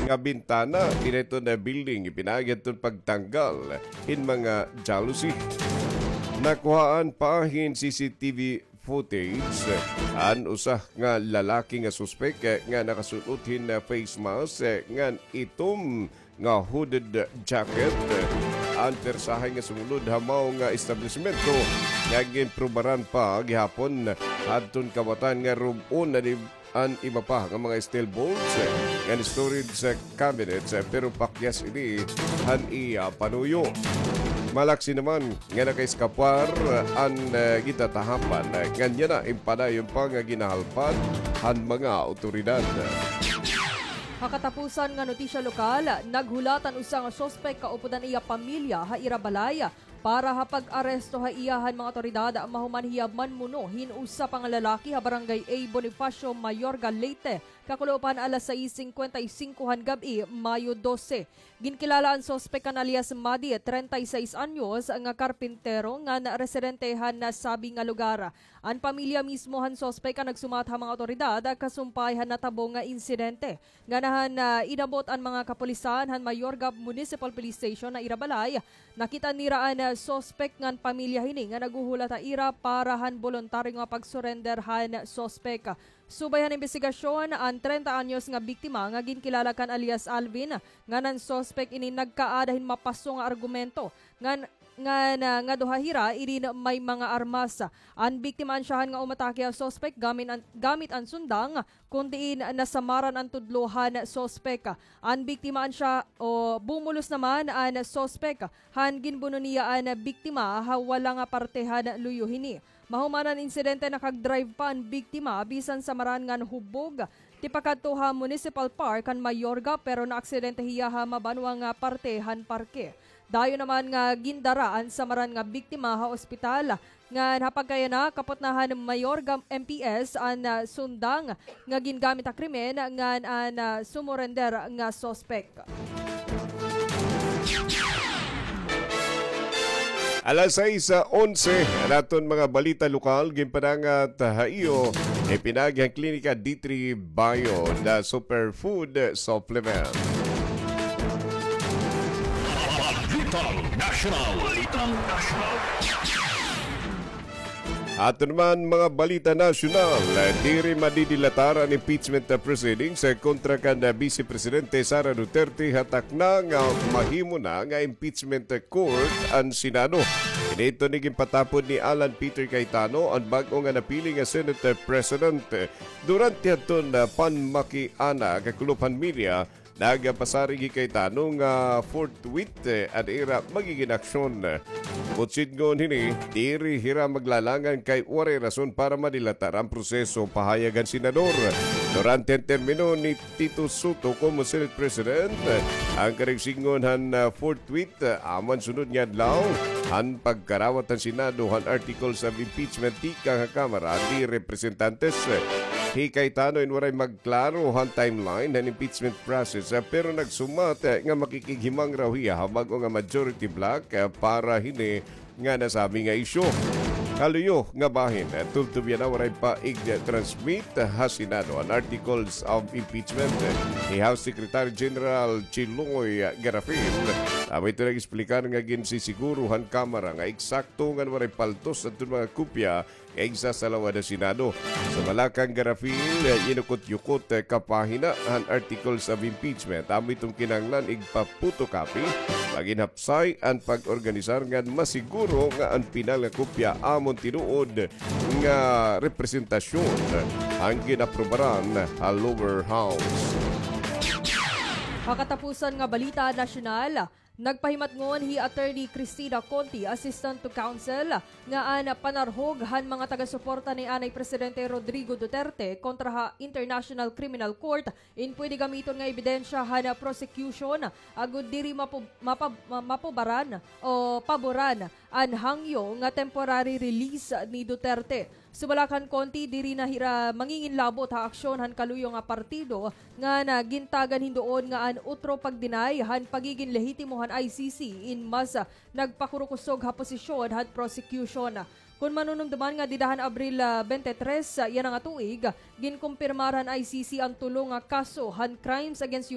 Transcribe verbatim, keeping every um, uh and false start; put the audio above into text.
nga bintana ini hiton building, ipinaagi hiton pagtanggal hin mga jalousie. Nakuhaan pa hin C C T V footage an usa nga lalaki nga suspek nga nakasul-ot hin face mask ngan itom nga hooded jacket an persahay nga sumulod ha mao nga establisemento nga ginprobaran pa gihapon hadton kawatan nga rub-on na di an iba pa nga mga steel bolts ngan storage cabinets, pero pakyas ini han iya panuyo. Malaksi naman nga nakaeskapar an, eh, gitatahapan, eh, ngan yana in padayon pa nga ginahalpan han mga awtoridad. Ha katapusan nga notisya lokal, naghulat an usa nga suspek kaupod an iya pamilya ha ira balay para ha pag-aresto ha iya han mga awtoridad mahuman hiya manmuno hin usa pa nga lalaki ha Barangay A Bonifacio, Mayorga, Leyte, kakulop han alas sais singkwenta y singko han gab-i, Mayo dose. Ginkilala an suspek kan alias Madi, treinta y seis anyos, nga karpintero ngan residente han nasabi nga lugar. An pamilya mismo han suspek an nagsumat ha mga awtoridad kasumpay han natabo nga insidente. Ngani han, ah, inabot an mga kapulisan han Mayorga Municipal Police Station ha ira balay, nakit-an nira an, ah, suspek ngan pamilya hini nga naghuhulat ha ira para han boluntaryo nga pag-surrender han suspek. Subay han imbestigasyon, an treinta anyos nga biktima nga ginkilala kan alias Alvin, ngan an suspek ini nagkaada hin mapaso nga argumento ngan, ngan, ah, ngadto ha hira inin may mga armas. An biktima ansyahan nga umatake ha suspek gamit an, gamit an sundang, kon diin nasamaran an tudlo han suspek. An biktima ansya o bumulos naman an suspek han ginbuno niya an biktima ha wala nga parte han luyo hini. Mahuman an insidente, nakag-drive pa an biktima bisan samaran ngan hubog tipakadto ha Municipal Park han Mayorga, pero naaksidente hiya ha mabanwa nga parte han parke. Dayon naman nga gindara an samaran nga biktima ha ospital, ngan ha pagkayana, kapot na han Mayorga M P S an, ah, sundang nga gingamit ha krimen ngan an, ah, sumurender nga suspek. Alas sais onse, an aton mga balita lokal, ginpadangat ha iyo, ipinaagi han Klinika D three Bio, the superfood supplement. Balitang Nasyonal. Balitang Nasyonal. Aton naman mga balita nasyonal, diri madidilatar an impeachment proceedings kontra kan Vice Presidente Sara Duterte ha takna nga mahimo na nga impeachment court an Senado. Ini iton ginpatapod ni Alan Peter Cayetano, an bag-o nga napili nga Senate President. Durante hadton panmakiana kakulop han media, nagpasarig hi Cayetano nga forthwith, eh, an ira magigin aksyon. Buot sidngon hini, diri hira maglalangan kay waray rason para madilatar an proseso, pahayag han senador. Durante an termino ni Tito Sotto komo Senate President, an karuyag sidngon han, ah, forthwith, ah, amo an sunod nga adlaw han pagkarawat han Senado han articles of impeachment tikang ha Kamara de Representantes. Hi Cayetano in waray magklaro han timeline han impeachment process, ah, pero nagsumat, ah, nga makikighimangraw hiya ha bag-o nga majority bloc, ah, para hini nga nasabi nga isyu. Kaluyo nga bahin, ah, tubtob yana waray pa ig-transmit ha Senado an articles of impeachment ni House Secretary General Chiloy Garafil. Amo ito nag-esplicar nga ginsisiguro han Kamara nga eksakto ngan waray paltos adton mga kopya nga igsasalawad ha Senado. Sumala kan Garafil, yinukot-yukot, eh, kapahina han articles of impeachment. Amo iton kinahanglan igpa-photocopy, magin hapsay an pag-organisar ngan masiguro nga an pinal nga kopya amo an tinuod nga representasyon han gin-aprobaran ha lower house. Ha katapusan nga balita nasyonal, nagpahimatngon hi Attorney Cristina Conti, Assistant to Counsel, nga an panarhog han mga taga-suporta ni anay Presidente Rodrigo Duterte kontra ha International Criminal Court in pwede gamiton nga ebidensya han prosecution agod diri mapu-, mapab-, ma-, mapubaran o paboran an hangyo nga temporary release ni Duterte. Sumala kan Conti, diri na hira manginginlabot ha aksyon han kaluyo nga partido ngan gintagan hin duon nga an utro pag-deny han pagigin lehitimo han I C C in mas nagpakurukusog ha posisyon han prosecution. Kon manunumduman nga dida han Abril, ah, twenty-three, ah, yana nga tuig, ginkumpirmar han I C C an tulo nga kaso han crimes against